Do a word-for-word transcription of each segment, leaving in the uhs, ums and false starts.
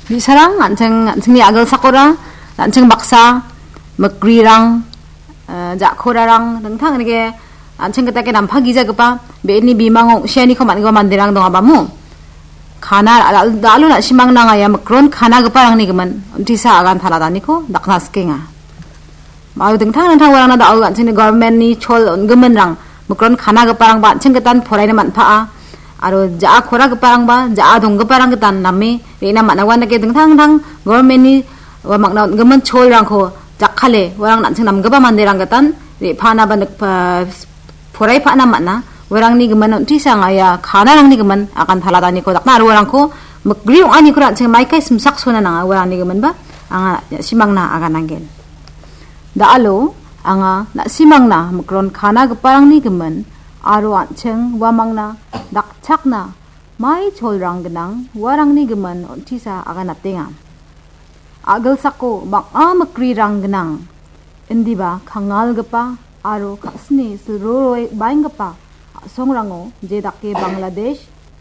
Bi·sarang, an·ching, an·chingni a·gilsakora, an·ching baksa, mikrirang, eh, ja·korarang, dingtang rike, an·ching gitake nampa gijagipa, be·eni bimango ong·sianiko man·gipa manderang dongabamo. Kana, da-, da-, da·alo na·simang nanga ia mikron kanagiparangni gimin, untisa agan taladaniko dakna sikenga. Aro dingtang dingtang uarangna da·o an·chingni government-ni chol on·giminrang, mikron kanagiparangba an·ching gitan poraina man·paa. Aro ja·a koragiparangba, ja·a donggiparang gitan name re·na man·a. Uandake dingtang dingtang government-ni uamangna on·gimin cholrangko jakkale, uarang an·ching namgipa manderang gitan re·paanaba nikpa-, poraipana man·a. Uarangni gimin on·tisa anga ia kanarangni gimin agan taladaniko dakna aro uarangko mikri ong·aniko an·ching maikai simsaksona nanga uarangni giminba anga na·simangna agananggen. Da·alo anga na·simangna mikron kanagiparangni gimin aro an·ching uamangna dakchakna mai cholrang gnang uarangni gimin on·tisa aganatenga. A·gilsako bang·a mikrirang gnang, indiba kangalgipa aro ka·sini silroroe baenggipa a·songrango, je dake Bangladesh,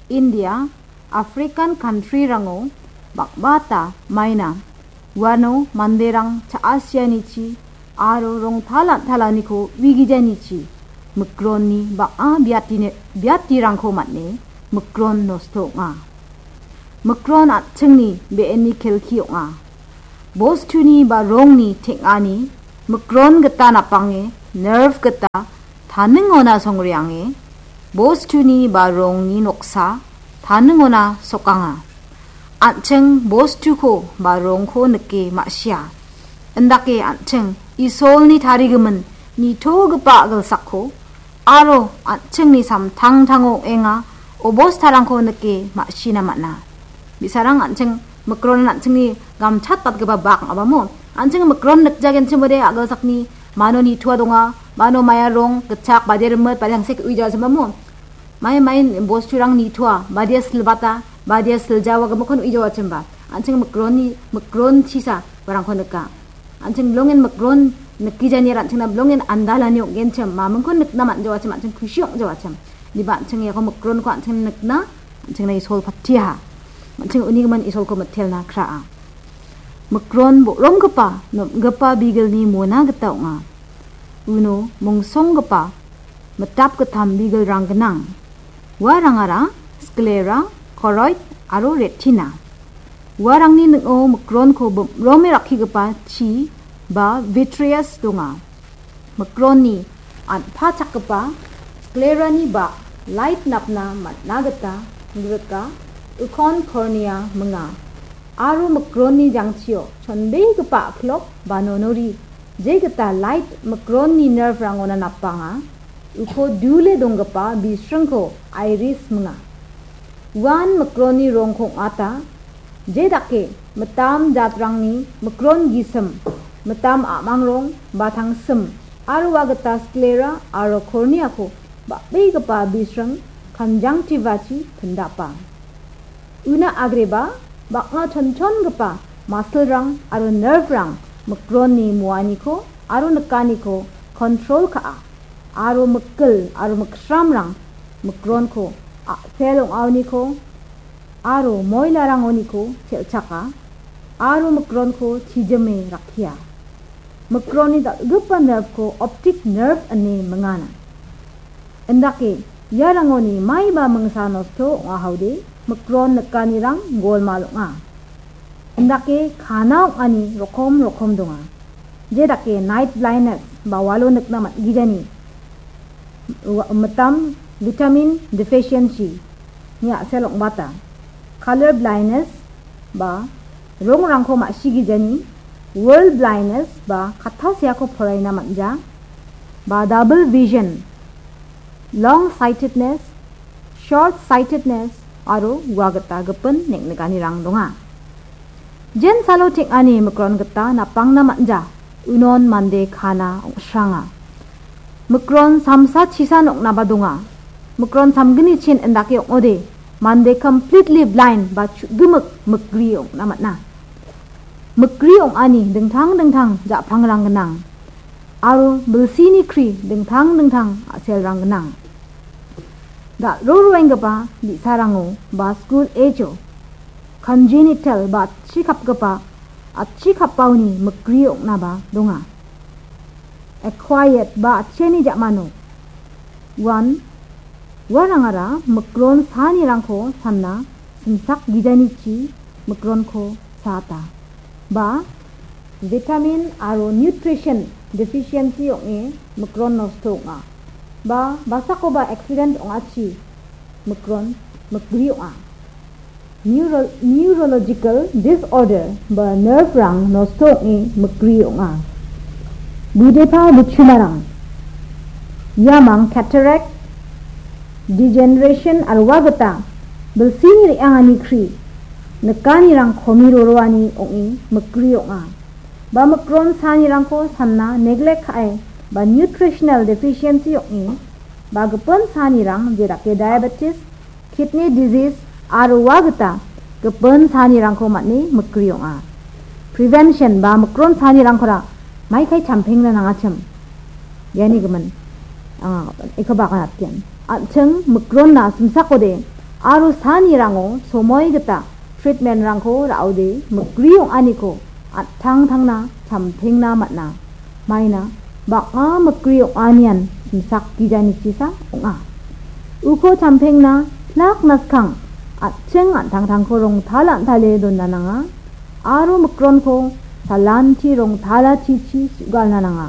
India, African country-rango bang·bata maina. Uano manderang cha·asianichi aro rongtalantalaniko uigijanichi mikronni bang·a biatine-, biatirangko man·e mikron nosto ong·a. Mikron an·chingni be·enni kelki ong·a. Bostuni ba rongni teng·ani mikron gita napange nerve gita taningona songreange, bostuni ba rongni noksa taningona sokanga. An·ching bostuko ba rongko nike ma·sia. Indake an·ching Isolni tarigimin nitogipa a·gilsakko aro an·chingni samtangtango ong·enga obostarangko nike ma·sina man·a. Bi·sarang an·ching mikronan an·chingni gamchatbatgipa bak ong·abamo. An·ching mikron nikjagenchimode a·gilsakni mano nitoa donga, mano maia rong, gitchak, bade rimit, bade tangsek ui jawachimamo. Mai mai bosturang nitoa, badia silbata, badia siljawa gimikkon ui jawachimba. An·ching mikronni, mikron chisa uarangko nika. An·ching bilongen mikron nikgijani an·chingna bilongen andalani ong·genchim, mamingkon nikna man·jawachim, an·ching kusi ong·jawachim. Indiba an·ching iako mikronko an·ching nikna, an·chingna Isol patiaha. An·ching unigimin Isolko mitelna kraa. Mikron bo·romgipa, nomgipa bigilni mona gita ong·a. Uno mongsonggipa mitap gittam bigilrang gnang. Uarangara sclera, choroid aro retina. Uarangni ning·o mikronko bimrome rakkigipa chi ba vitreous donga. Mikronni an·pachakgipa sclerani ba light napna man·a gita grika ukon cornea minga. Aro mikronni jangchio chonbegipa a·klok ba nonori je gita light mikronni nerve-rangona napanga, uko dule donggipa bisringko iris minga. Uan mikronni rongko ong·ata, je dake mitam jatrangni mikron gisim, mitam a·mang rong ba tangsim, aro ua gita sclera aro corneako bang·begipa bisring conjunctiva-chi pindapa. Una agreba bang·a chonchongipa muscle-rang aro nerve-rang mikronni muaniko aro nikaniko control ka·a, aro mikil aro miksramrang mikronko a·sel ong·aoniko aro moilarangoniko chel·chaka, aro mikronko chijime rakkia. Mikronni dal·gipa nerve-ko optic nerve ine mingana. Indake iarangoni maiba mingsa nosto ong·ahode mikron nikanirang golmal ong·a. Indake kana ong·ani rokom rokom donga. Je dake night blindness ba walo nikna man·gijani, wa-, mitam vitamin deficiency ni a·sel ong·bata. Color blindness ba rongrangko ma·sigijani, world blindness ba katta seako poraina man·ja, ba double vision, long sightedness, short sightedness aro ua gita gipin neng·nikanirang donga. Jensalo teng·ani mikron gita napangna man·ja, unon mande kana ong·sranga. Mikron samsa chisan ong·naba donga. Mikron samgni chin indake ong·ode, mande completely blind ba chu·gimik mikri ong·na man·a. Mikri ong·ani dingtang dingtang ja·pangrang gnang, aro bilsini kri dingtang dingtang a·selrang gnang. Dal·roroenggipa bi·sarango ba skul age-o congenital ba atchi kapgipa, atchi kapaoni mikri ong·naba donga. Acquired ba atchiani ja·mano uan uarangara mikron sanirangko sanna simsak gijanichi mikronko saata. Ba vitamin aro nutrition deficiency ong·e mikron nosto ong·a. Ba basakoba accident ong·achi mikron mikri ong·a. Neuro-, neurological disorder ba nerve-rang nosto ong·e mikri ong·a. Budepa buchumarang. Iamang cataract, degeneration aro ua gita bilsini re·angani kri nikanirang komi roroani ong·e mikri ong·a. Ba mikron sanirangko sanna neglect ka·e ba nutritional deficiency ong·e ba gipin sanirang jedake diabetes, kidney disease aro ua gita gipin sanirangko man·e mikri ong·a. Prevention ba mikron sanirangkora maikai champengna nangachim. Iani gimin, anga iko bagan atgen. An·ching mikronna simsakode aro sanirango somoi gita treatment-rangko ra·ode mikri ong·aniko an·tangtangna champengna man·a. Maina bang·a mikri ong·anian simsak gijanichisa ong·a. Uko champengna plak naskang an·ching an·tangtangko rongtal an·tale dona nanga aro mikronko salanti rongtalachichi su·galna nanga.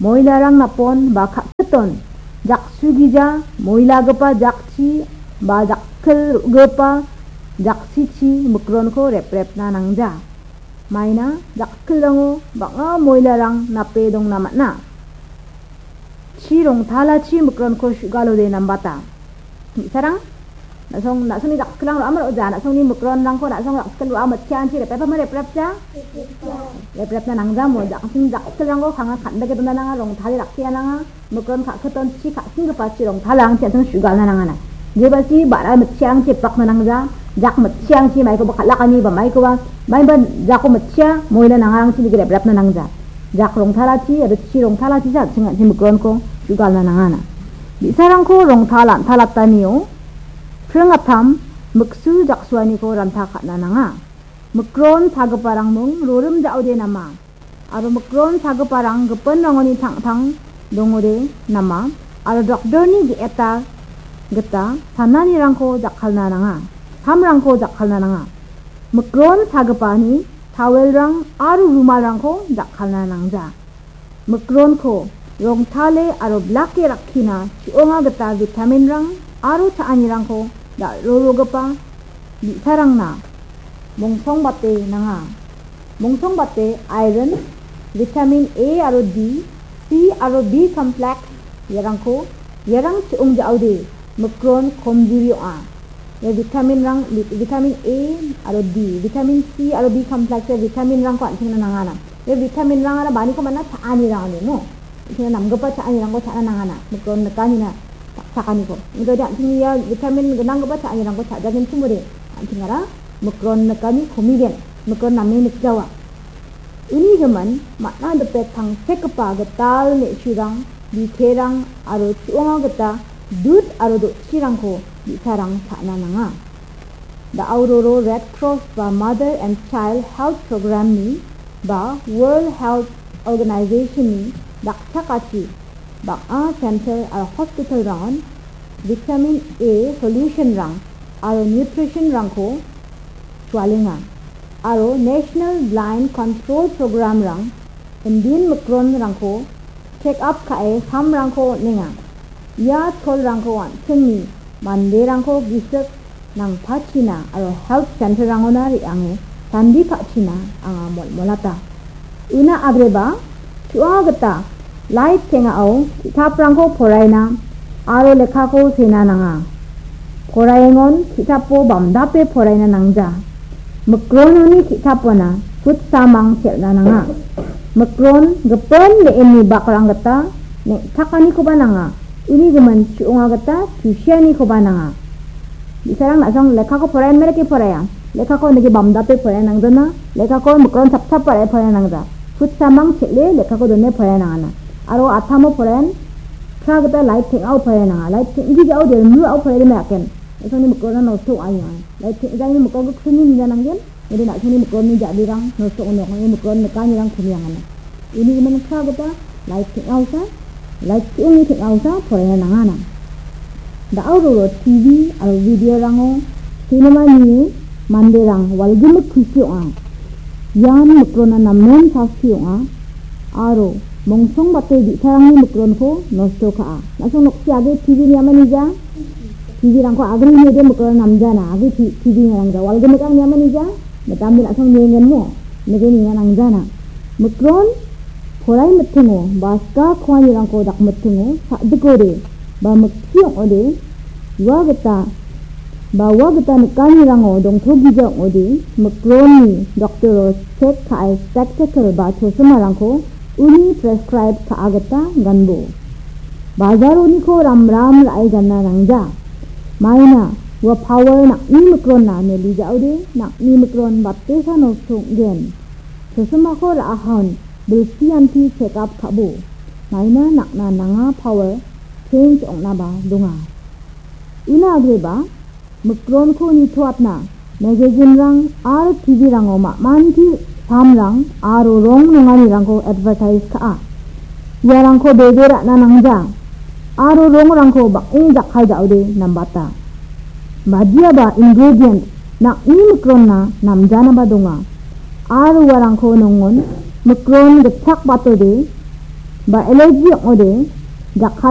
Moilarang napon ba ka·siton jaksugija moilagipa jakchi ba jakkil ro·gipa jaksichi mikronko reprepna nangja. Maina jakkilrango bang·a moilarang nape dongna man·a. Chi rongtalachi mikronko su·galode nambata. Bi·sarang, na·song, na·songni jakkilrang ro·a ma ro·ja, na·songni mikronrangko na·song jakkil ro·a mitchiangchi reprepama reprepja? Reprepna nangjamo, jaksing jakkilrangko kanga kan·beke dona nanga, rongtale rakkia nanga. Mikron ka·kiton chi ka·singgipa chi rongtalrangchi an·ching su·galna nangana. Jebalchi ba·ra mitchiangchi epakna nangja, jak mitchiangchi maikoba kal·akani ba maikoba, maiba jako mitchia, moila nangarangchi nike reprepna nangja. Jak rongtalachi, aro chi rongtalachisa an·ching an·ching mikronko su·galna nangana. Bi·sarangko rongtal an·talatanio pringatam miksu jaksuaniko ranta ka·na nanga. Mikron sagiparang mung rorim ja·ode nama. Aro mikron sagiparang gipinrangoni tangtang dongode nama. Aro doktorni ge·eta gita sananirangko jakkalna nanga. Samrangko jakkalna nanga. Mikron sagipani towelrang aro rumalrangko jakkalna nangja. Mikronko rongtale aro blake rakkina chi·onga gita vitaminrang aro cha·anirangko dal·rorogipa bi·sarangna mongsongbate nanga. Mongsongbate iron, vitamin A aro D, C aro B complex iarangko, iarang chi·ong ja·ode mikron komjuri ong·a. Ia vitaminrang, vit-, vitamin A aro D, vitamin C aro B complex ia vitaminrangko an·chingna nangana. Ia vitaminrangara maniko mana cha·anirang ong·e, no? An·chingna namgipa cha·anirangko cha·na nangana. Mikron nikanina cha·, chakaniko. Ong·ode an·ching ia vitamin gnanggipa cha·anirangko cha·jagenchimode an·chingara mikron nikani komigen, mikron name nikjawa. Uni gimin, man·a dipe tangsekgipa gital me·surang, biterang aro chu·onga gita dud aro do·chirangko bi·sarang cha·na nanga. Da·auroro Red Cross ba Mother and Child Health Program-ni ba World Health Organization-ni dakchakachi bang·a center aro hospital-rangon vitamin A solution-rang aro nutrition-rangko chualenga. Aro National Blind Control Program-rang indin mikron-rangko check up ka·e samrangko on·enga. Ia cholrangko an·chingni manderangko gisik nangpachina aro health center-rangona re·ange sandi ka·china anga molmolata. Una agreba, chu·a gita light teng·ao ki·taprangko poraina aro lekkako sena nanga. Poraengon ki·tapo bamdape poraina nangja. Mikrononi ki·tapona futsamang chel·na nanga. Mikron gipin me·enni bakrang gita neng·takanikoba nanga. Uni gimin chu·onga gita tusianikoba nanga. Bi·sarang na·song lekkako poraenba dake poraia. Lekkako nike bamdape poraia nangdona. Lekkako mikron chapchap ba·rae poraia nangja. Futsamang chel·e lekkako done poraia nangana. Aro atamo poraen Ka gita light teng·ao pae nanga. Light teng·gijao de, mru ao pae de me aken. Esoni mikrona nosto ong·a. Light teng·jani mikro gikrini nina nanggen. Ede na·songni mikronni ja·birang nosto ong·nok. Ede mikron nikanirang kumiangana. Uni gimin ka gita light teng·aosa, light ki·ongni teng·aosa poraiana nangana. Da·o roro T V aro videorango cinema nie manderang walgimik kusi ong·a. Ian mikrona namen sasti ong·a. Aro mongsongbate bi·sarangni mikronko nosto ka·a. Na·song noksi age T V niamanija, T V-rangko agri niode mikrona namjana, age T-, T V niarangja. Walgimikrang niamanija, mitamde na·song niengenmo, nige nina nangjana. Mikron, porai mitingo, ba ska koanirangko dakmitingo, sa·dikode, ba mikki ong·ode, ua gita, ba ua gita nikanirango dongtogija ong·ode, mikronni doktoro chek ka·e spectacle ba chosimarangko uni prescribe ka·a gita ganbo. Bajaroniko ramram ra·e gana nangja. Maina ua power nang·ni mikronna meli ja·ode, nang·ni mikron batesa nosto ong·gen. Chosimako ra·ahon bilsianti check up ka·bo. Maina nang·na nanga power change ong·naba donga. Una agreba, mikronko nitoatna, magazinrang aro T V-rango ma·manti samrang aro rong nonganirangko advertise ka·a. Iarangko bebe ra·na nangja, aro rongrangko bang·e jakkai ja·ode nambata. Badiaba ingredient nang·ni mikronna namjanaba donga, aro uarangko nongon mikron gitchak batode ba allergy ong·ode jakkai